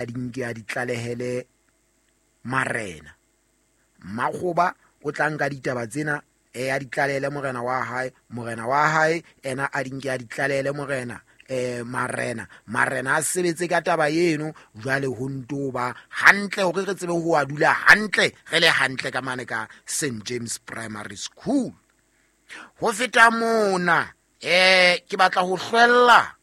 Di nke a di tlalehele marena. Mmakgoba o tla nka ditaba tsena a di tlalehele morena wa hae, morena wa hae ena a di nke a di tlalehele morena, marena, marena a sebetse ka taba eno. Jwale ho nto ba hantle hore re tsebe ho a dula hantle, re le hantle ka mane ka St James Primary School. Ho feta mona, ke batla ho hlwella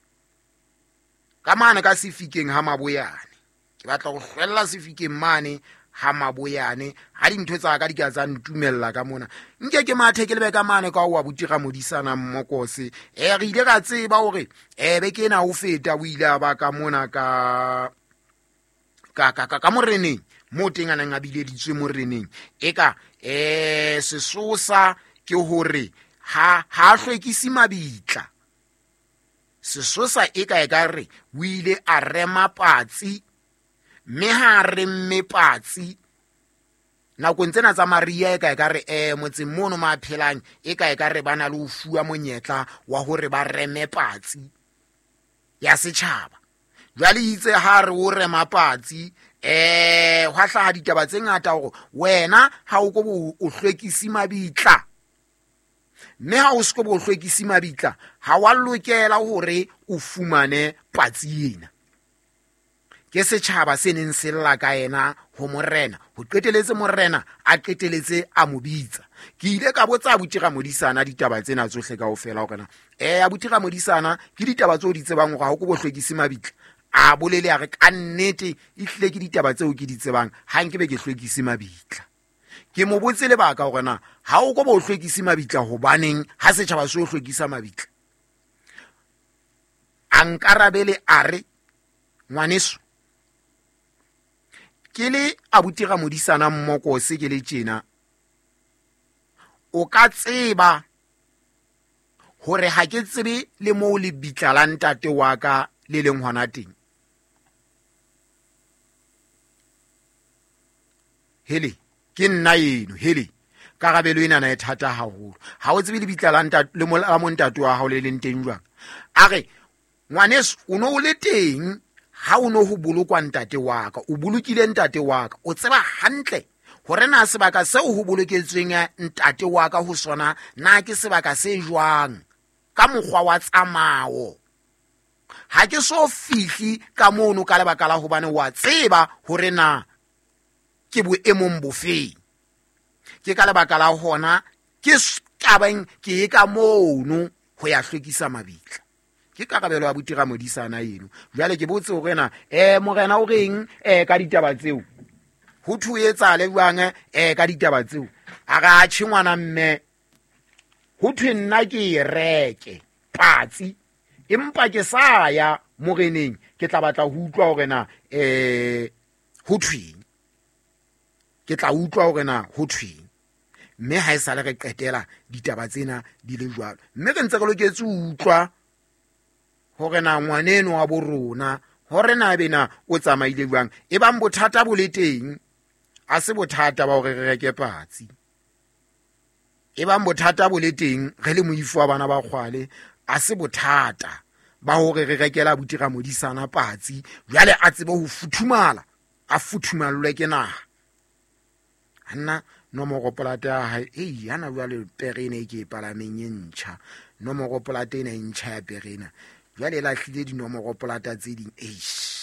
ka mane ka sefikeng ha Maboyane. Ke batla ho hlwella sefikeng mane ha Maboyane, ha dintho tsa ka di ka tsa ntumella ka mona. Nke ke mathe ke lebe ka mane ka wa botira modisana Mmokose. Re ile ra tseba hore beke ena ho feta o ile a ba ka mona ka moreneng, moo teng a neng a bileditswe moreneng. Eka sesosa ke hore ha hlwekise mabitla. Sesosa e ka e ka re o ile a rema patsi, mme ha a remme patsi nakong tsena tsa Maria, e ka e ka re motseng mono ma phelang, e ka e ka re ba na le ho fuwa monyetla wa hore ba reme patsi ya setjhaba. Jwale itse ha re o rema patsi, hwa hlaha ditaba tse ngata hore wena ha o ko bo o hlwekisi mabitla, mme ha o se ko bo o hlwekisi mabitla, ha wa lokela hore o fumane patsi ena. Ke setjhaba se neng se lla ka yena ho morena, ho qeteletse morena a qeteletse a mo bitsa. Ke ile ka botsa abuti Ramodisana ditaba tsena tsohle kaofela hore na, abuti Ramodisana, ke ditaba tseo di tsebang hore ha o ko bo hlwekise mabitla? A bolele a re ka nnete ehlile ke ditaba tseo ke di tsebang, ha nke be ke hlwekise mabitla. Ke mo botse lebaka hore na ha o ko bo hlwekise mabitla hobaneng ha setjhaba se o hlwekisa mabitla. A nkarabele a re, ngwaneso, ke le abuti Ramodisana Mmokose ke le tjena, o ka tseba hore ha ke tsebe le moo lebitla la ntate wa ka le leng hona teng. Hele, ke nna eno, hele, karabelo ena na e thata haholo. Ha o tsebe lebitla la ntate, le mo, la montate wa hao le leng teng jwang? A re, ngwaneso, o no o le teng ha o no ho bolokwa ntate wa ka, o bolokile ntate wa ka, o tseba hantle hore na sebaka seo ho boloketsweng ntate wa ka ho sona na ke sebaka se jwang ka mokgwa wa tsamao. Ha ke so fihli ka mono ka lebaka la hobane wa tseba hore na ke boemong bofeng. Ke ka lebaka la hona ke tabeng ke e ka mono ho ya hlwekisa mabitla. Ke karabelo ya abuti Ramodisana eno. Jwale ke botse hore na, morena o reng, ka ditaba tseo? Ho thwe etsahale jwang, ka ditaba tseo? A re, atjhe ngwana mme, ho thwe nna ke e reke patsi, empa ke sa ya moreneng, ke tla batla ho utlwa hore na, ho thweng. Ke tla utlwa hore na ho thweng. Mme ha e sale re qetela ditaba tsena di le jwalo, mme re ntse re loketse ho utlwa hore na ngwaneno wa bo rona hore na ebe na o tsamaile jwang. Ebang bothata bo le teng, a se bothata ba hore re reke patsi. Ebang bothata bo le teng, re le moifo wa bana ba kgwale, a se bothata ba hore re rekela abuti Ramodisana patsi, jwale a tsebe ho futhumala, a futhumallwe ke naha. Nna nomoro polate ya hae, ei, hana jwale pere ena e ke e palameng e ntjha, nomoro polate ena e ntjha ya pere ena, jwale e lahlile dinomoro polata tse ding. Eish.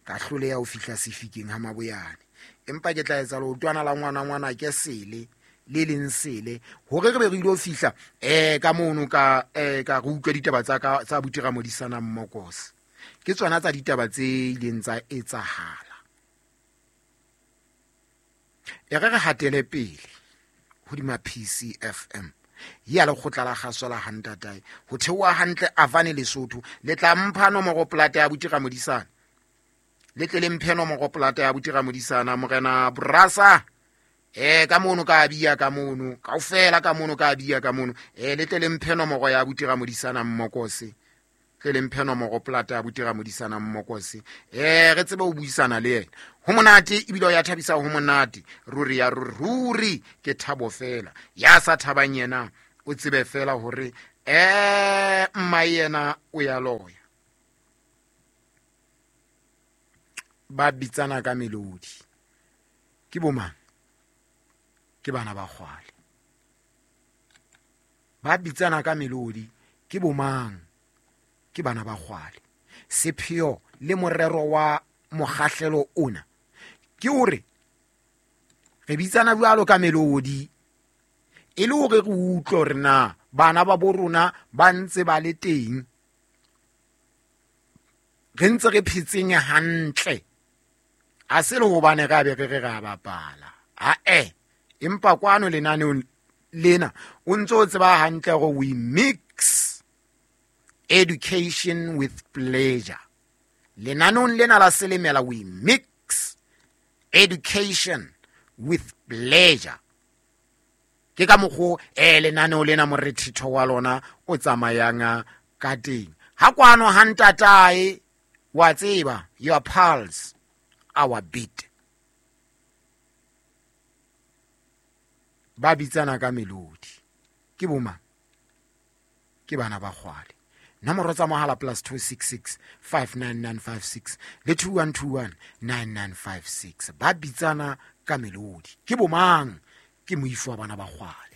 Ka hloleha ho fihla sefikeng ha Maboyane, empa ke tla etsa leotwana la ngwana ngwana ke sele le leng sele hore re be re ilo fihla, ka mono ka re utlwe ditaba tsa ka tsa abuti Ramodisana Mmokose. Ke tsona tsa ditaba tse ileng tsa etsahala. E re re hatele pele hodima PCFM ya lekgotla la kgaso la Hantatae ho theoha hantle Avane Lesotho. Le tla mpha nomoro polata ya abuti Ramodisana, le tle le mphe nomoro polata ya abuti Ramodisana. Morena Brasa, ka mono ka bia ka mono kaofela, ka mono ka bia ka mono, le tle le mphe nomoro ya abuti Ramodisana Mmokose, tle le mphe nomoro polata ya abuti Ramodisana Mmokose, re tsebe ho buisana le yena. Ho monate ebile o ya thabisa, ho monate ruri ya ruri, ruri ke thabo fela. Ya sa thabang yena o tsebe fela hore Mma yena o ya loya. Ba bitsana ka melodi. Ke bomang? Ke bana ba kgwale. Ba bitsana ka melodi. Ke bomang? Ke bana ba kgwale. Sepheo le morero wa mokgahlelo ona ke hore re bitsana jwalo ka melodi e le hore re utlwe hore na bana ba bo rona ba ntse ba le teng, re ntse re phetseng hantle. A se le hobane re a be re re re a bapala, ae, empa kwano lenaneong lena o ntse o tseba hantle hore we mix education with pleasure. Lenaneong lena la Selemela we mix education with pleasure. Ke ka mokgo lenaneo lena morethetho wa lona o tsamayang ka teng. Ha kwano ha ntatae wa tseba, your pulse, our beat. Ba bitsana ka melodi. Ke bomang? Ke bana ba kgwale. Nomoro tsa mohala +266 59956 le 2121 9956. Ba bitsana ka melodi. Ke bomang? Ke moifo wa bana ba kgwale.